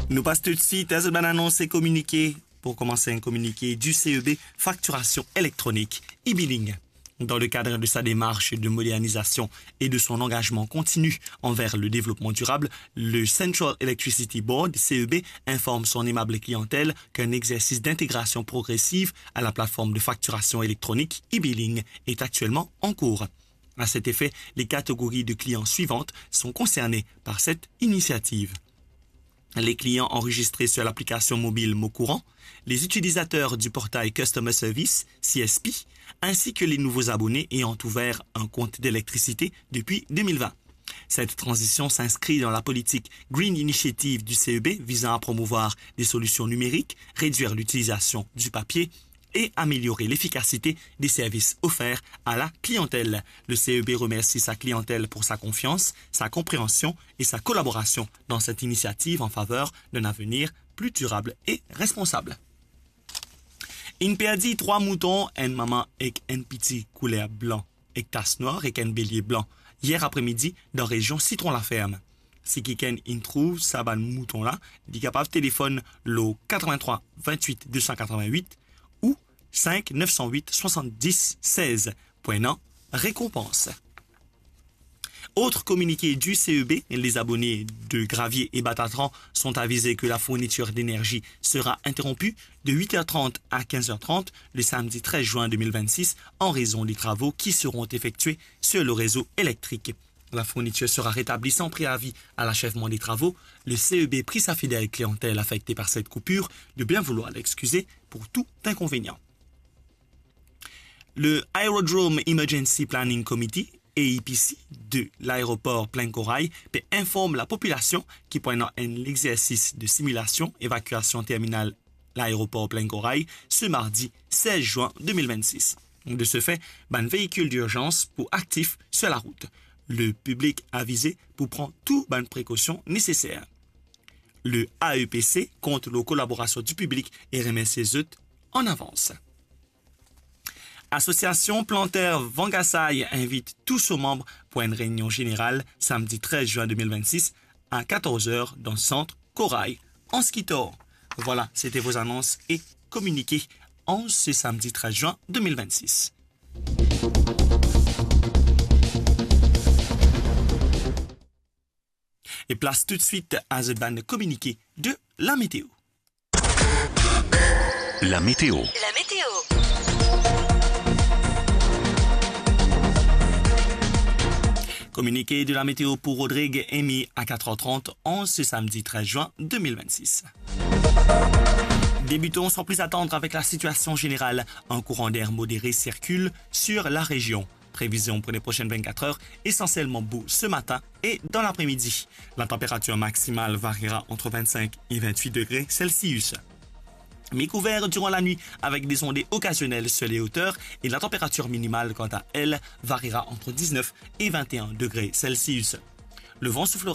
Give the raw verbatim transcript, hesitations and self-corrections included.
Nou pas toutswit a zot bann anons e kominike. Pour commencer, un communiqué du C E B, facturation électronique, e-billing. Dans le cadre de sa démarche de modernisation et de son engagement continu envers le développement durable, le Central Electricity Board, C E B, informe son aimable clientèle qu'un exercice d'intégration progressive à la plateforme de facturation électronique e-billing est actuellement en cours. À cet effet, les catégories de clients suivantes sont concernées par cette initiative. Les clients enregistrés sur l'application mobile Mon Courant, les utilisateurs du portail Customer Service, C S P, ainsi que les nouveaux abonnés ayant ouvert un compte d'électricité depuis deux mille vingt. Cette transition s'inscrit dans la politique Green Initiative du C E B visant à promouvoir des solutions numériques, réduire l'utilisation du papier et améliorer l'efficacité des services offerts à la clientèle. Le C E B remercie sa clientèle pour sa confiance, sa compréhension et sa collaboration dans cette initiative en faveur d'un avenir plus durable et responsable. Inn perdi trwa mouton, enn mama ek enn piti kouler blan ek tas nwar ek enn belie blan yer apremidi dan rezion Citron Laferme. Si kikenn inn trouv sa bann mouton la, li kapav telefonn lor katrevin-trwa vintwit de san katrevin-wit ou sink nef san wit swasanndis sez pou ena rekonpans. Autre communiqué du C E B, les abonnés de Gravier et Batatran sont avisés que la fourniture d'énergie sera interrompue de huit heures trente à quinze heures trente le samedi treize juin deux mille vingt-six en raison des travaux qui seront effectués sur le réseau électrique. La fourniture sera rétablie sans préavis à l'achèvement des travaux. Le C E B prie sa fidèle clientèle affectée par cette coupure de bien vouloir l'excuser pour tout inconvénient. Le Aerodrome Emergency Planning Committee, A E P C, de l'aéroport Plaine Corail pe inform la populasion ki pou ena enn lexersis de similasion evakiasion terminal laeropor Plaine Corail se mardi sez zin de mil vennsis. De se fe, bann veikil dirzans pou aktif sir larout. Le piblik avize pou pran tou bann prekosion neseser. Le A E P C kont lor kolaborasion di piblik e remersie zot an avans. Asosiasion Planter Vangasai invit tou so manb pou enn reynion zeneral samdi trez zin de mil vennsis a katorz er dan sant Corail, Anse Guitord. Voilà, c'était vos annonces et communiqués en ce samedi treize juin deux mille vingt-six. E plas toutswit a zot bann kominike de la météo. La météo. La météo. Communiqué de la météo pour Rodrigue Amy à quatre heures trente en ce samedi treize juin deux mille vingt-six. Débutons sans plus attendre avec la situation générale. Un courant d'air modéré circule sur la région. Prévision pour les prochaines vingt-quatre heures, essentiellement beau ce matin et dans l'après-midi. La température maximale variera entre vingt-cinq et vingt-huit degrés Celsius. Mi-couvert durant la nuit avec des ondées occasionnelles sur les hauteurs et la température minimale, quant à elle, variera entre dix-neuf et vingt et un degrés Celsius. Le vent soufflera